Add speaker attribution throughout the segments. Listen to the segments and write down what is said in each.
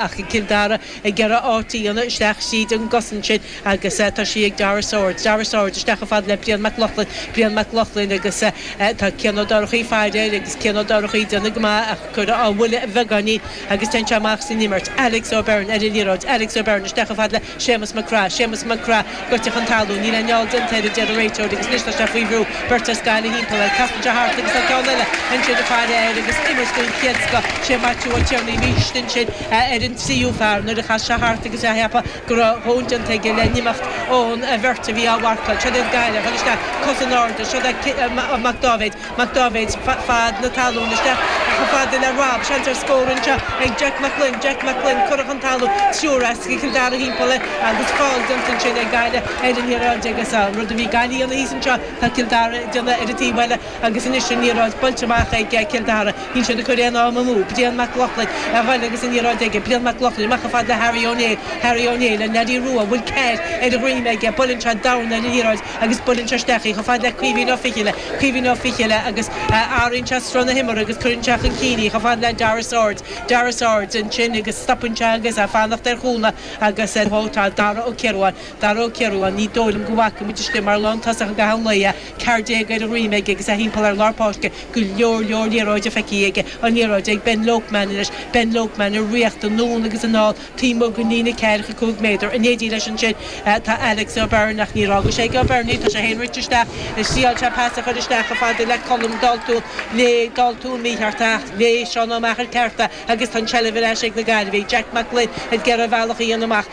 Speaker 1: Ach Cill Dara ag iarraidh áit a dhéanamh isteach tríd an gcosaint sin agus tá sí ag Dara Swords. Dara Swords isteach chomh fada le Brian Mac Lochlainn. Brian Mac Lochlainn agus tá Cian Ó Dorchaí ag faire air agus Cian Ó Dorchaí ag déanamh go maith ach curtha á bhuille a bheagáinín agus téann sé amach as an imirt. Alex O'Byrne ar an liathróid. Alex O'Byrne isteach chomh fada le Séamus Mac Craith. Séamus Mac Craith goite chun talún. Níl aon fheall déanta air a deir an réiteoir agus anois tá sé faoi bhrú. Beirt as Gaillimh thimpeall air. Casann sé thart agus tá ceann eile ansin ag faire air agus imirt den chéad scoth. Sé Maitiú Ó Tiarnaigh a bhí istigh ansin ar an tríú fear nuair a chas sé thart agus é a cheapadh go raibh a dhóthain déanta aige le n-imeacht ón bheirt a bhí á mharcáil. Seo iad Gaillimh ag dul isteach, cos in airde. Seo é Mac Dáibhéid. Mac Dáibhéid fad na talún isteach chomh fada le Rob. Seans ar scór anseo ag Jack Mac Gloinn. Jack Mac Gloinn curtha chun talún. Triúr as Cill Dara thimpeall air agus feall déanta ansin ag Gaillimh ar an liathróid agus an rud a bhí Gaillimh a dhéanamh thíos anseo tá Cill Dara ag déanamh ar an taobh eile agus anois an liathróid buailte amach ag Cill Dara. Níl siad ag cur aon am amú. Brian Mac Lochlainn a ghoil agus an liathróid aige. Brian Mac Lochlainn amach chomh fada le Harry Ó Néill. Harry Ó Néill, an leaidí rua, bhfuil ceir ar a dhroim aige. Buaileann sé dorn ar an liathróid. agus buaileann sé isteach í chomh fada le Caoimhín Ó Fichille, Caoimhín Ó Fichille agus athraíonn sé sruth na himeartha agus cuireann sé chun cinn í chomh fada le Dara Swords, Dara Swords ansin agus stopann sé agus é ag fanacht ar chúnamh agus tá Dara Ó Ciaruáin, Dara Ó Ciaruáin, ní dóigh liom go bhfaca muid istigh mar lántosach i gcaitheamh an lae é, 14 ar a dhroim aige agus é thimpeall ar lár páirce, go leor leor liathróide feicthe aige, an liathróid ag Ben Lopeman anois, Ben Lopeman ag ritheacht anonn agus anall. Taobh amuigh den líne 45 méadar. In éindí leis ansin tá Alex O'Byrne ach níor fhága sé ag O'Byrne í, tá sé féin rite isteach. Thriail sé pas a chur isteach chomh fada le Colm Daltún. Léigh Daltún mícheart ach léigh Seán Ó Meachair ceart é agus tá an tseilbh ar ais ag na Gaillimhigh. Jack Mac Gloinn ag iarraidh a bhealach a dhéanamh amach.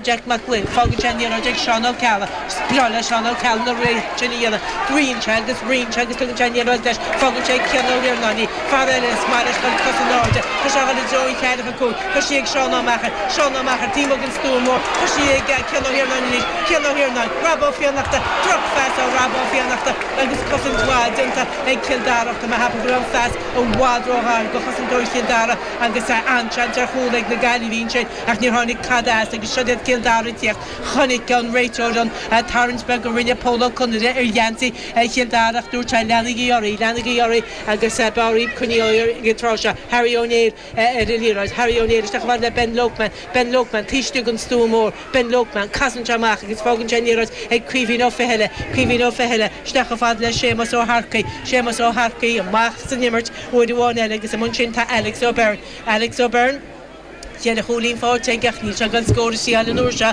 Speaker 1: Jack Mac Gloinn, fágann sé an liathróid ag Seán Ó Ceallaigh. Is breá le Seán Ó Ceallaigh na rith sin a dhéanamh. Ritheann sé agus ritheann sé agus tugann sé an liathróid leis. Fágann sé ag Cian Ó hIarnáin í. Fear eile is maith leis dul cos in airde. Tá sé ag dul i dtreo an cheathracha cúig. Tá sí ag Seán Ó Meachair. Seán Ó Meachair, taobh amuigh den stua mór. Tá sí ag Cian Ó hIarnáin anois. Cian Ó hIarnáin, Rob Ó Fiannachta. Drochphas ó Rob Ó Fiannachta agus cosaint mhaith déanta ag Cill Dara. Tá mé a cheapadh go raibh an phas i bhfad róghar do chosantóirí Chill Dara agus an-seans ar chúl ag na Gaillimhigh ansin ach níor tháinig tada as agus seo iad Cill Dara ag tíocht. Chonaic an réiteoir an tarraingt beag a rinne Pól Ó Conaire ar gheansaí Chill Dara ach dúirt sé leanaigí oraibh, leanaigí oraibh agus b'fhearr coinneáil ag an tráth seo. Harry Ó Néill ar an liathróid. Harry Ó Néill isteach chomh fada le Ben Lopeman. Ben Lopeman taobh istigh den stua mór. Ben Lopeman, casann sé amach agus fágann sé an liathróid ag Caoimhín Ó Fichille. Caoimhín Ó Fichille isteach chomh fada le Séamus Ó hEarcaigh. Séamus Ó hEarcaigh amach san imirt uair amháin eile agus amuigh ansin tá Alex O'Byrne. Alex O'Byrne. Cheithre chúilín faighte aige ach níl sé ag dul scór a thriail an uair seo.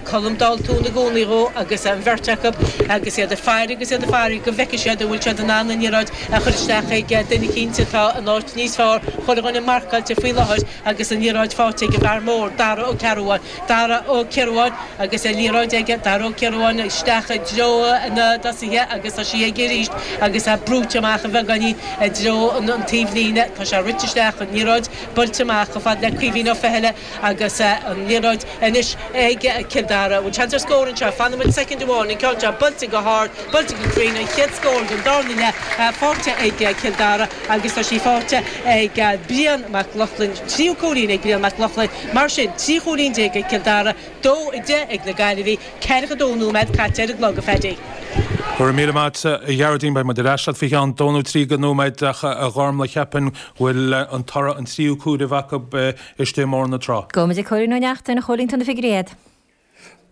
Speaker 1: Colm Daltún i gcónaí dhó agus an bheirt acu agus iad ag faire agus iad ag faire go bhfeicfidh siad an bhfuil siad in ann an liathróid a chur isteach ag duine eicínt atá in áit níos fearr chuile dhuine marcáilte faoi láthair agus an liathróid faighte ag an bhfear mór, Dara Ó Cearbháin. Dara Ó Cearbháin agus an liathróid aige, Dara Ó Cearbháin isteach i dtreo na dtosaithe agus tá sí aige arís agus é brúite amach a bheagáinín i dtreo an taobhlíne. Tá sé rite isteach, an liathróid buailte amach chomh fada le Caoimhín Ó Fichille agus an liathróid anois ag Cill Dara. Bhfuil seans ar scór anseo? Fanfaidh muid soicind amháin. An ceann seo buailte go hard, buailte go cruinn, an chéad scór den darna leath faighte ag Cill Dara agus tá sí faighte ag Brian Mac Lochlainn. Tríú cúilín ag Brian Mac Lochlainn. Mar sin, 13 chúilín ag Cill Dara, 2, 10 ag na Gaillimhigh. 42 nóiméad caite ar an gclog, a Phaddy.
Speaker 2: Go raibh míle maith agat, a Ghearóidín. Beidh muid ar ais leat faoi cheann dó nó trí de nóiméad ach, a Ghormlaith, cheapfainn go bhfuil an toradh an tríú comhaireamh acu istigh i mBóthar na Trá.
Speaker 3: Gabhfaidh muid ag Cóilín Ó Neachtain, a Chóilín, tá na figiúirí agat.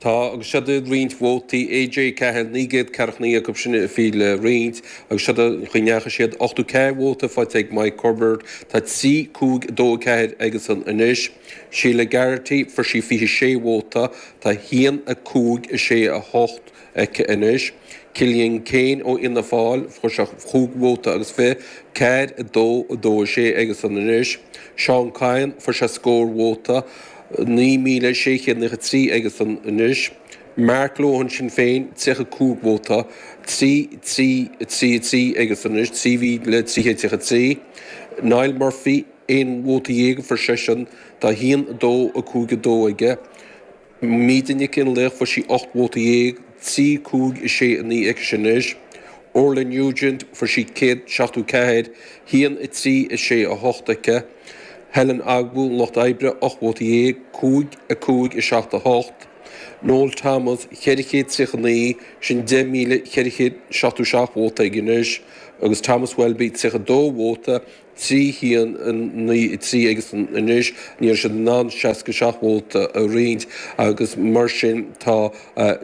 Speaker 4: Tá, agus siod iad roinnt vótaí, AJ Cahill, 949 acu sin a bhí le roinnt, agus siod an chaoi a ndeachaigh siad, 84 vóta faighte ag Mike Corbett, tá 3, 5, 2, 4 aigesan anois. Sheila Garrity, fuair sí 26 vóta, tá 1, 5, 6, 8 aici anois. Cillian Keane ó Fhianna Fáil, fuair sé chúig vóta agus fiche, 4, 2, 2, 6 aigesan anois. Seán Kyne, fuair sé scór vóta, 9,693 aigesan anois. Mark Lohan, Sinn Féin, 35 vóta, 3, 3, 3, 3 aigesan anois, 3,333. Niall Murphy, Aon vóta dhéag a fuair seisean, tá 1, 2, 5, 2 aige. Míde Nic Fhionnlaoich, fuair sí 18 vóta, 3, 5, 6, 9 aici anois. Orla Nugent, fuair sí 174, 1, 3, 6, 8 aici. Helen Ogbu, an Lucht Oibre, 18 vóta, 5, 5, 7, 8. Noel Thomas, 439, sin 10,477 vóta aige anois. agus Thomas Welby 32 vóta, 3 1 9 3 aigesan anois. Ní raibh siad in ann 67 vóta a roinnt agus mar sin tá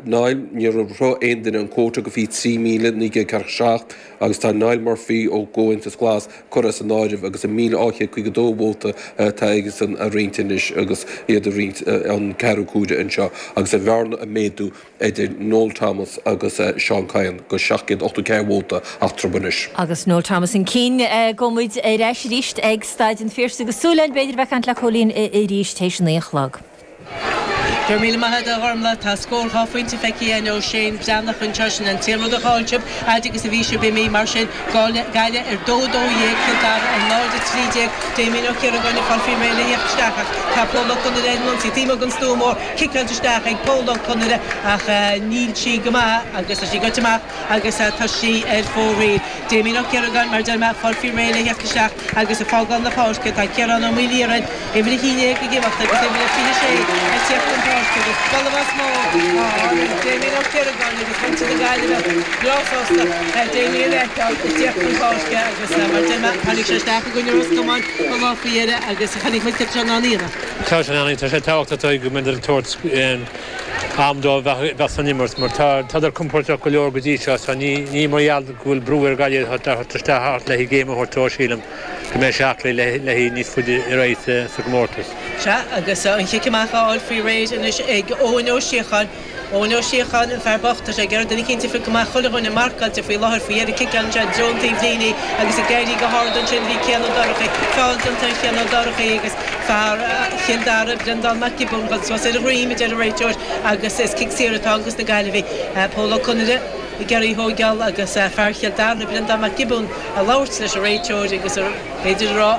Speaker 4: Niall, níor shroich aon duine an quota go 23,947 agus tá Niall Murphy ó gComhaontas Glas curtha as an áireamh agus 1,252 vóta atá aigesan a roinnt anois agus iad ag roinnt an ceathrú cuaire anseo agus an bhearna ag méadú idir Noel Thomas agus Seán Kyne go 784 vóta eatarthu anois.
Speaker 3: Agus Noel Thomas chun cinn. Gabhfaidh muid ar ais arís ag Staid an Phiarsaigh agus súil againn b'fhéidir a bheith ag caint le Cóilín arís théis a 9 a chlog.
Speaker 1: Go raibh míle maith agat a Ghormlaith. Tá scór 2 phointe feicthe againn ó Shane Breathnach anseo. Sin an t-aon rud a chaill sibh, fhaid agus a bhí sibh imithe. Mar sin, Gaillimh ar 2 12, Cill Dara ar 0 13. Damien Ó Ciaragáin ag fáil faoi réir le theacht isteach ach tá Pól Ó Conaire ar an ionsaí. Taobh amuigh den stua mór, ciceáilte isteach ag Pól Ó Conaire ach níl sí go maith agus tá sí goite amach agus tá sí ar fóraoil. Damien Ó Ciaragáin, mar a deir mé, ag fáil faoi réir le theacht isteach agus ag fágáil na páirce. Tá Ciarán Ó Maoilíorain, uimhir 11 ag imeacht agus uimhir a 26 ag teacht chun páirce agus bualadh bos mór á fháil ag Damien Ó Ciaragáin agus muintir na Gaillimhe breá sásta Damien a fheiceáil ag teacht chun páirce agus mar a deir mé, tháinig sé isteach i gcoinne Ros Comáin an lá faoi dheireadh agus chonaic muid cad tá sé in ann a dhéanamh.
Speaker 5: Tá sé in ann, tá sé tábhachtach dóibh go mbeidh ag tabhairt am dóibh bheith san imirt mar tá tádar compordach go leor go dtí seo so ní mar gheall go bhfuil brú ar Ghaillimh a theacht isteach le haghaidh game a thabhairt dó sílim go mbeidh sé aclaí le haghaidh níos faide ar aghaidh sa gcomórtas.
Speaker 1: Sea, agus an chic amach á fháil faoi réir anois ag Eoin Ó Síocháin. Eoin Ó Síocháin, an fear bocht, tá sé ag iarraidh duine eicínt a phiocadh amach, chuile dhuine marcáilte faoi láthair faoi dheireadh ciceálann sé i dtreo an taobh líne agus ag éirí go hard ansin bhí Cian Ó Dorchaí, feall déanta ar Chian Ó Dorchaí agus fear Chill Dara, Breandán Mac Giobúin, dul suas ar a dhroim, a deir an réiteoir agus is cic saor atá ann dos na Gaillimhigh. Pól Ó Conaire ag iarraidh í thóigeáil agus fear Chill Dara, Breandán Mac Giobúin, ag labhairt leis an réiteoir agus b'fhéidir a rá,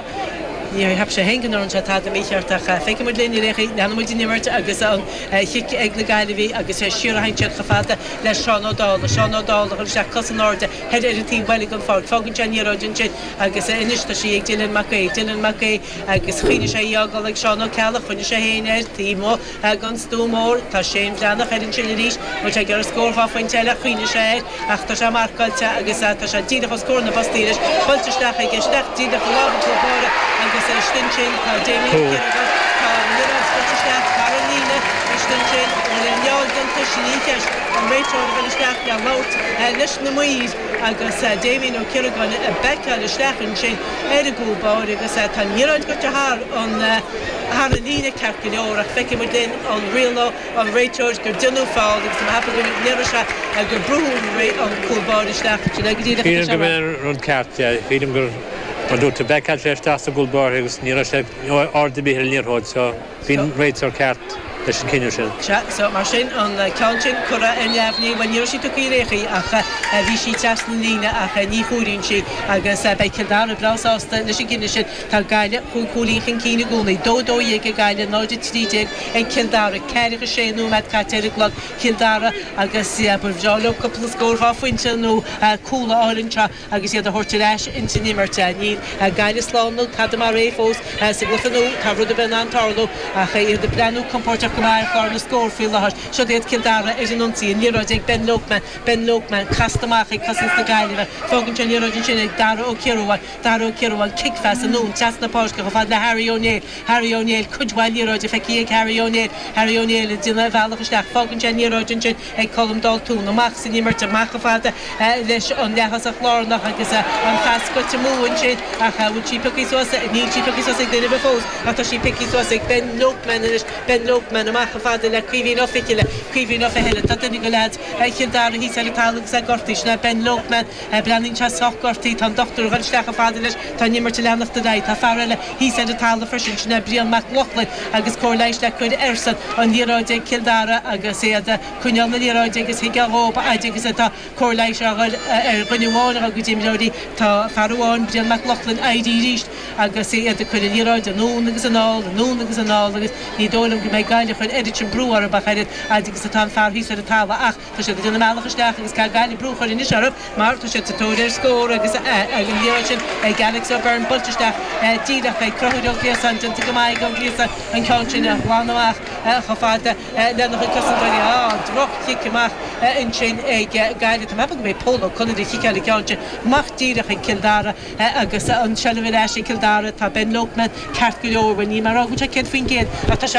Speaker 1: níor cheap sé féin go ndearna sé tada mícheart ach feicfidh muid linn ar aon chaoi, leanfaidh muid den imirt agus an chic ag na Gaillimhigh agus siar a théann siad chomh fada le Seán Ó Dálaigh, Seán Ó Dálaigh ag dul isteach cos in airde thoir ar an taobh buile den pháirc, fágann sé an liathróid ansin agus anois tá sí ag Dylan Mac Aoidh, Dylan Mac Aoidh agus choinnigh sé í á fhágáil ag Seán Ó Ceallaigh, choinnigh sé féin air taobh amuigh. Den stua mór. Tá Shane Breathnach air ansin arís. Bhfuil sé ag iarraidh scór 2 phointe eile? Choinnigh sé air ach tá sé marcáilte agus tá sé díreach os comhair na bpostaí anois. Buailte isteach aige, isteach díreach i lámha an chúl báire agus istigh ansin tá Damien Ó Ciaragáin. Tá an liathróid scoite isteach thar an líne istigh ansin. An bhfuil aon fheall déanta? Sin í an cheist. An réiteoir a dhul isteach le labhairt leis na maoir agus Damien Ó Ciaragáin ag baiceáil isteach ansin ar an gcúl báire agus tá an liathróid goite thar an thar an líne ceart go leor ach feicfidh muid linn an rialóidh an réiteoir gur déanadh feall agus tá mé ag ceapadh go ndéarfaidh sé gur brúdh an cúl báire isteach. Sin é go díreach atá
Speaker 5: Sílim
Speaker 1: sé
Speaker 5: go
Speaker 1: a rá.
Speaker 5: mb'in an rud ceart, yeah. Sílim gur, mar a dúirt tú, baiceáil sé isteach sa gcúl báire agus ní raibh sé aird ar bith ar an liathróid so bhí an réiteoir ceart leis an cinneadh sin.
Speaker 1: Sea, so mar sin, an ceann sin curtha ar neamhní, bhuel ní raibh sí tugtha ar aon chaoi ach bhí sí trasna an líne ach ní chomhairíonn sí agus beidh Cill Dara breá sásta leis an gcinneadh sin. Tá Gaillimh chúig chúilín chun cinn i gcónaí, 2 12 ag Gaillimh, 0 13 ag Cill Dara. 46 nóiméad caite ar an gclog, Cill Dara agus ba bhreá leo cúpla scór 2 phointe nó cúl a fháil anseo agus iad a thabhairt ar ais ins an imirt. Níl Gaillimh slán nó tada mar é fós sa gcluiche nua, tá rud ar bith in ann tarlú ach iad ag breathnú compóirteach go maith ar chlár na scór faoi láthair. Siod iad Cill Dara ar an ionsaí, an liathróid ag Ben Lopeman, Ben Lopeman casta amach ag cosaint na Gaillimhe. Fágann sé an liathróid ansin ag Dara Ó Ciarubháin. Dara Ó Ciarubháin, cic-phas anonn trasna na páirce chomh fada le Harry Ó Néill, Harry Ó Néill, cuid mhaith liathróide feicthe ag Harry Ó Néill, Harry Ó Néill ag déanamh a bhealach isteach, fágann sé an liathróid ansin ag Colm Daltún, amach san imirt, amach chomh fada leis an leath-thosach lárnach agus an phas goite amú ansin ach bhfuil sí pioctha suas, níl sí pioctha suas ag duine ar bith fós ach tá sí pioctha suas ag Ben Lopeman anois, Ben Lopeman amach chomh fada le Caoimhín Ó Fichille, Caoimhín Ó Fichille, tá duine de leaids Chill Dara thíos ar an talamh agus é gortaithe, sin é Ben Lopeman. Breathnaíonn sé sách gortaithe. Tá an dochtúir ag dul isteach chomh fada leis. Tá an imirt ag leanacht ar aghaidh. Tá fear eile thíos ar an talamh freisin, sin é Brian Mac Lochlainn agus cóir leighis le cur airsean. An liathróid ag Cill Dara agus iad ag coinneáil na liathróide agus thuigfeá dhób a fhaid agus atá cóir leighis á chur ar dhuine amháin dá gcuid imreoirí. Tá fear amháin, Brian Mac Lochlainn, éirithe arís agus iad ag cur an liathróid anonn agus anall, anonn agus anall agus ní dóigh liom go mbeidh Gaillimh. Gaillimh a chur oiread sin brú orthu ach oiread fhad agus atá an fear thíos ar an talamh ach tá siad ag déanamh a mbealach isteach agus caithfidh Gaillimh brú a chur anois orthu mar tá siad sa tóir ar scór agus an liathróid sin ag Alex O'Byrne buailte isteach díreach ag Conchúr Ó Gliasáin déanta go maith ag Ó Gliasáin an ceann sin a ghlanadh amach chomh fada lena chuid cosantóirí. Á, droch-chic amach ansin ag Gaillimh. Tá mé ag ceapadh gurb é Pól Ó Conaire a chiceáil an ceann sin amach díreach ag Cill Dara agus an tseilbh ar ais ag Cill Dara. Tá Ben Lopeman ceart go leor, bhuel níl mé ag rá go bhfuil sé 100% ach tá sé.